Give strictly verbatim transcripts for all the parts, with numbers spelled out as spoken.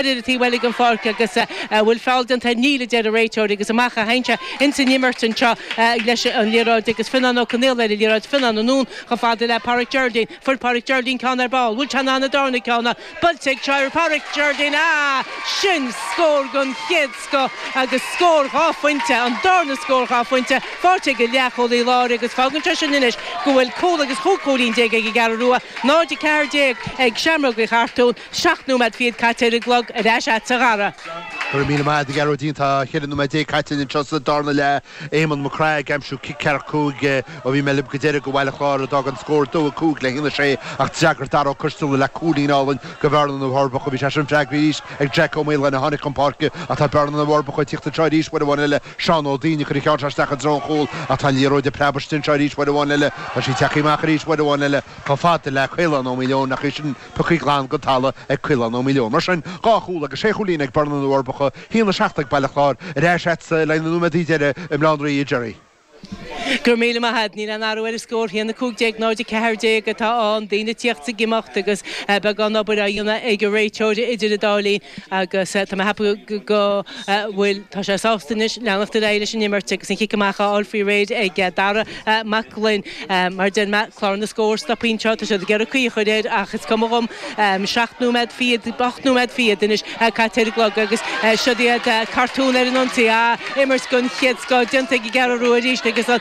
Ar taobh eile den pháirc agus bhfuil feall déanta? Níl, a deir an réiteoir, agus amach a théann sé ins an imirt anseo leis an liathróid agus Fionnán Ó Conaola ar an liathróid. Fionnán anonn chomh fada le Pádraic Geraldine. Fuair Pádraic Geraldine ceann ar ball. Bhfuil sé in ann an darna ceann a buailte ag seo Pádraic Geraldine? Ah! Sin scór den chéad scoth agus scór dhá phointe, an darna scór dhá phointe faighte ag an leathchúlaí láir agus fágann sé sin anois go bhfuil cúl agus chúig chúilín déag ag an gCeathrú Rua, náid a ceathair déag ag Seamróga Uí Chartúin, seacht nóiméad fichead caite ar an gclog. Ar ais agatsa a Dhara. Go raibh míle maith agat, a Ghearóidín. Tá ceithre nóiméad déag caite anseo sa darna leath. Éamonn Mac Craith ag aimsiú cic ceathracha cúig ó bhí mé libh go deireadh do Bhaile Chláir a d'fhág an scór dó a cúig le haon a sé ach d'fhreagair Dara Ó Coisteala le cúilín álainn do Bhearna na bhForbacha. Bhí sé sin freagraithe arís ag Jack Ó Maoláin a tháinig chun páirce ach tá Bearna na bhForbacha ag tíocht anseo arís uair amháin eile. Seán Ó Duinn ag cur an cheann seo isteach i dtreo an chúil ach tá an liathróid ag preabadh istigh anseo arís uair amháin eile. Tá sí tagtha amach arís uair amháin eile chomh fada le Caolán Ó Maoileoin ach é sin pioctha glan den talamh ag Caolán Ó Maoileoin. Mar sin, dhá chúl agus sé chúilín ag Bearna na bhForbacha, haon a seacht ag Baile Chláir. Ar ais agatsa le haghaidh na nóiméadaí deiridh i mBaile Átha an Rí, a Gerry. Go raibh míle maith agat. Níl aon athrú ar an scór, haon a cúig déag, náid a ceathair déag atá ann. Daoine ag tíocht is ag imeacht agus beagán obair á dhéanamh ag an réiteoir idir an dá linn agus tá mé ag ceapadh go bhfuil, tá sé sásta anois leanacht ar aghaidh leis an imirt agus an chic amach á fháil faoi réir ag Dara Mac Gloinn. Mar a deir mé, clár na scór stoptha anseo, tá siad ag iarraidh caoi a chur air ach is cuma dhom. Seacht nóiméad fichead, ocht nóiméad fichead anois caite ar an gclog agus siod iad Cartún ar an ionsaí. Ah, imirt den chéad scoth déanta ag an gCeathrú Rua arís agus an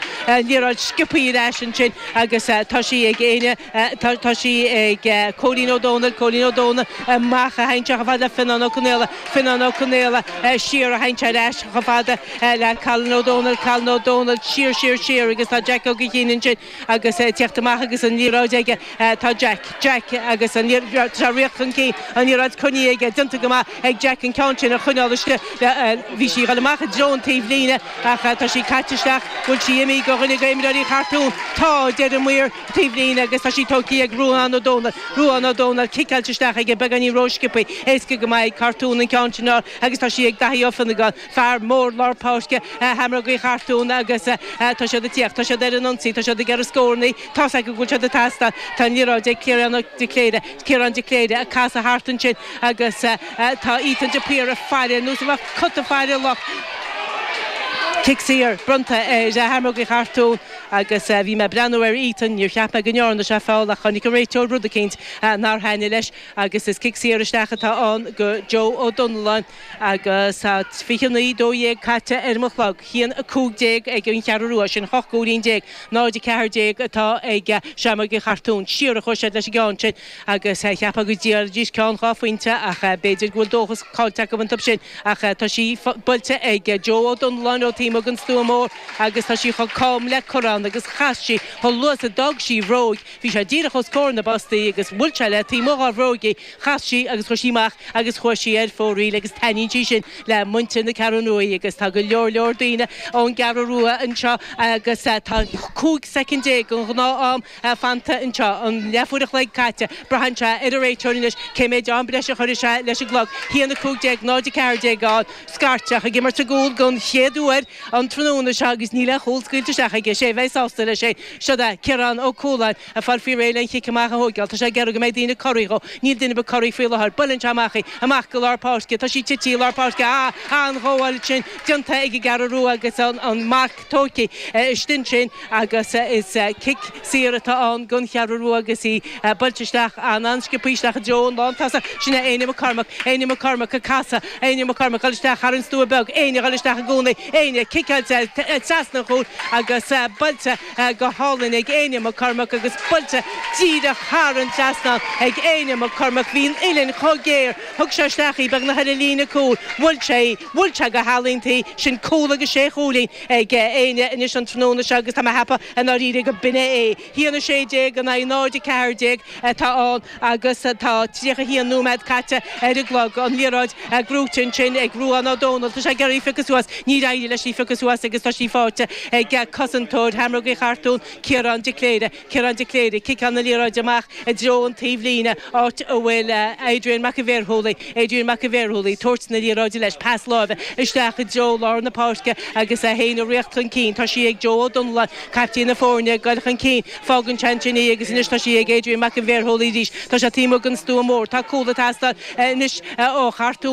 liathróid sciobtha ar ais ansin agus tá sí ag Éinne, tá sí ag Cóilín Ó Dónaill, Cóilín Ó Dónaill amach a théann sé chomh fada le Fionnán Ó Conaola, Fionnán Ó Conaola siar a théann sé ar ais chomh fada le Colin Ó Dónaill, Colin Ó Dónaill siar, siar, siar agus tá Jack Ó Gaoithín ansin agus ag tíocht amach agus an liathróid aige tá Jack, Jack agus an liathróid, tá sé ag rith chun cinn, an liathróid coinnithe aige, déanta go maith ag Jack an ceann sin a choinneáil istigh, bhí sí ag dul amach i dtreo an taobh líne ach tá sí caite isteach, bhfuil sí imithe go dhuine d'imreoirí Chartún? Tá, a deir an maor taobh líne agus tá sí tógtha ag Ruadhán Ó Dónaill, Ruadhán Ó Dónaill, ciceáilte isteach aige beagáinín rósciobtha, éasca go maith ag Cartún an ceann sin a fháil agus tá sí ag Daithí Ó Fionnagáin, fear mór lár páirce Sheamrógaí Chartún agus tá siad ag tíocht, tá siad ar an ionsaí, tá siad ag iarraidh scórannaí, tá's acu go bhfuil siad ag teastáil, tá an liathróid ag Ciarán de Cléire, Ciarán de Cléire ag casadh thart ansin agus tá Ethan de Paor ag faire ar nós a bheadh cat ag faire luch. Cic saor bronnta ar Sheamrógaí Chartún agus bhí mé ag breathnú ar Ethan, níor cheap mé go ndearna sé feall ach chonaic an réiteoir rud eicínt nár thaitnigh leis agus is cic saor isteach atá ann go Joe Ó Domhnalláin agus tá fiche naoi dó dhéag caite ar mo chlog, haon a cúig déag ag an Cheathrú Rua, sin hocht gcúilín déag, náid a ceathair déag atá ag Seamrógaí Chartún. Siar a chuaigh siad leis an gceann sin agus cheapfá go d'iarrfaidís ceann dhá phointe ach b'fhéidir go bhfuil dóchas caillte acu iontu sin ach tá sí buailte ag Joe Ó Domhnalláin ó taobh amuigh den stua mór agus tá sí chomh cam le corrán agus chas sí chomh luath is a d'fhág sí a bhróig, bhí sé díreach os comhair na bpostaí agus bhuail sé le taobh amuigh dhá bhróig í, chas sí agus chuir sí amach agus chuaigh sí ar fóraoil agus taitníonn sí sin le muintir na Ceathrún Rua agus tá go leor leor daoine ón gCeathrú Rua anseo agus tá cúig soicind déag den ghnáth-am fanta anseo, an leathuair a chloig caite, braitheann sé ar an réiteoir anois cé méid am breise a chuirfidh sé leis an gclog, haon a cúig déag, náid a ceathair déag ann. Scairteach ag imirt i gcúl don chéad uair an tráthnóna seo agus níl aon chúl scaoilte isteach aige. Is é a bheidh sásta leis é. Siod é Ciarán Ó Cualáin ag fáil faoi réir le an chic amach a thóigeáil. Tá sé ag iarraidh go mbeidh daoine corraithe dhó. Níl duine ar bith corraithe faoi láthair. Buaileann sé amach í. Amach go lár páirce. Tá sí tite i lár páirce. Ah! An-ghabháil ansin déanta ag an gCeathrú Rua agus an marc tógtha istigh ansin agus is cic saor atá ann don Cheathrú Rua agus í buailte isteach an-an-sciobtha isteach i dtreo an lántosach. Sin é Éinne McCormack. Éinne McCormack ag casadh. Éinne McCormack ag dul isteach thar an stua beag, Éinne ag dul isteach i gcónaí, Éinne ciceáilte trasna an chúil agus buailte go hálainn ag Éinne McCormack agus buailte díreach thar an trasnán ag Éinne McCormack. Bhí an uillinn chomh géar, thug sé isteach í beagnach ar an líne cúil, bhuail sé í, bhuail sé go healaíonta í, sin cúl agus sé chúilín ag Éinne anois an tráthnóna seo agus tá mé a cheapadh i ndáiríre go b'in é é. Haon a sé déag in aghaidh náid a ceathair déag atá ann agus tá tríocha haon nóiméad caite ar an gclog. An liathróid gnóite ansin ag Ruadhán Ó Dónaill. Tá sé ag iarraidh í a phiocadh suas. Níor éirigh leis í a phiocadh suas agus tá sí faighte ag cosantóir Sheamróga Chartún Ciarán de Cléire Ciarán de Cléire ciceann an liathróid amach i dtreo an taobhlíne áit a bhfuil Adrian McAveerhúlaí Adrian McAveerhúlaí tabhairt na liathróide leis pas láimhe isteach i dtreo lár na páirce agus é féin ag rith chun cinn tá sí ag Joe O'Donnell captaen na foirne ag dul chun cinn fágann sé ansin í agus anois tá sí ag Adrian McAveerhúlaí arís Tá sé taobh amuigh den stua mór tá cúl ag teastáil anois ó Chartún.